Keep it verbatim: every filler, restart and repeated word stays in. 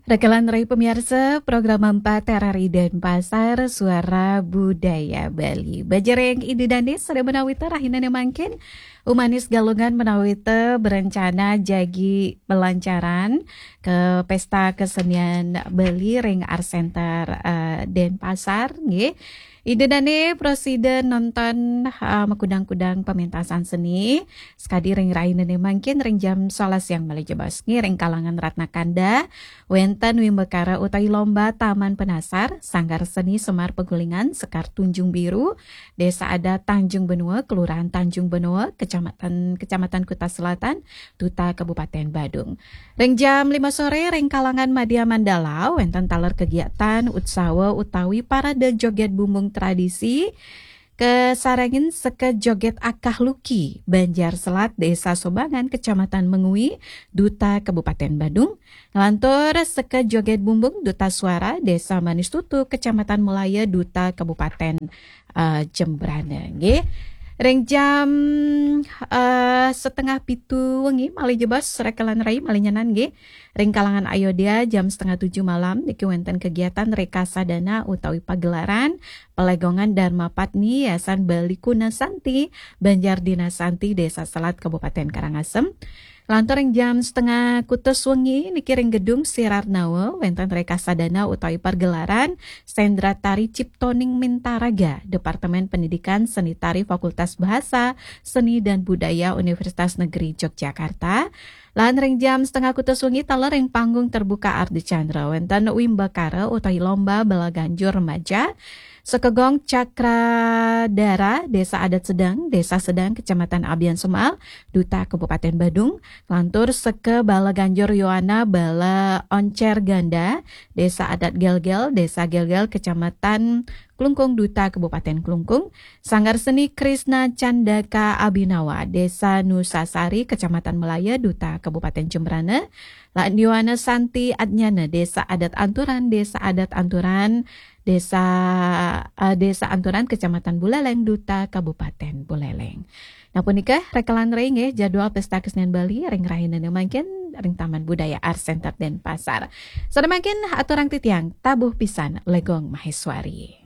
Rekelan rai pemiarsa, program empat R R I Denpasar, Suara Budaya Bali. Bajareng Ida Dané sada menawi ta rahinane mangkin, Umanis Galungan menawi ta berencana jagi belancaran ke Pesta Kesenian Bali ring Art Center, eh, Denpasar, nggih. Ida Dané prasida nonton, eh, makudang-kudang pementasan seni. Sekadi ring rahinane mangkin ring jam sebelas siang malih jebos. Nggih, ring kalangan Ratna Kanda, wenten wimbakara utawi lomba Taman Penasar, Sanggar Seni Semar Pegulingan, Sekar Tunjung Biru, Desa Adat Tanjung Benua, Kelurahan Tanjung Benua, Kecamatan, Kecamatan Kuta Selatan, Duta Kabupaten Badung. Ring jam lima sore, ring kalangan Madya Mandala, wenten taler kegiatan, utsawa utawi parade joget bumbung tradisi, kasarengin seka joget Akah Luki, Banjar Selat, Desa Sobangan, Kecamatan Mengwi, Duta Kabupaten Badung, nglantur seka joget bumbung, Duta Suara, Desa Manis Tutu, Kecamatan Melaya, Duta Kabupaten, eh, Jembrana, nggih. Ring jam, eh, setengah pitu wengi, malih jebos, rekelan rai, malih nyanan, nggih. Ring kalangan Ayodya, jam setengah tujuh malam, niki wenten kegiatan rekasadana utawi pagelaran Pelegongan Dharma Patni Yayasan Bali Kuna Santi, Banjar Dina Santi, Desa Selat, Kabupaten Karangasem. Lantur ring jam setengah kutus wengi niki ring Gedung Sirar Nawa, wenten rekasadana utawi pergelaran Sendra Tari Ciptoning Mintaraga, Departemen Pendidikan Seni Tari, Fakultas Bahasa, Seni dan Budaya, Universitas Negeri Yogyakarta. Lan ring jam setengah kutus wengi taler ring panggung terbuka Ardhi Chandra, wenten wimbakara utawi lomba balaganjur remaja, Sekegong Cakradara, Desa Adat Sedang, Desa Sedang, Kecamatan Abian Semal, Duta Kabupaten Badung, lantur seka balaganjur Yowana, Bala Oncer Ganda, Desa Adat Gelgel, Desa Gelgel, Kecamatan Klungkung, Duta Kabupaten Klungkung, Sanggar Seni Krishna Candaka Abhinawa, Desa Nusasari, Kecamatan Melaya, Duta Kabupaten Jembrana, lan Yowana Santi Adnyana, Desa Adat Anturan, Desa Adat Anturan, Desa, eh, Desa Anturan, Kecamatan Buleleng, Duta Kabupaten Buleleng. Nah, punika rekelan rai nggih jadwal Pesta Kesenian Bali ring rahinane mangkin ring Taman Budaya Art Center Denpasar. Sada mangkin aturang titiang tabuh pisan Legong Maheswari.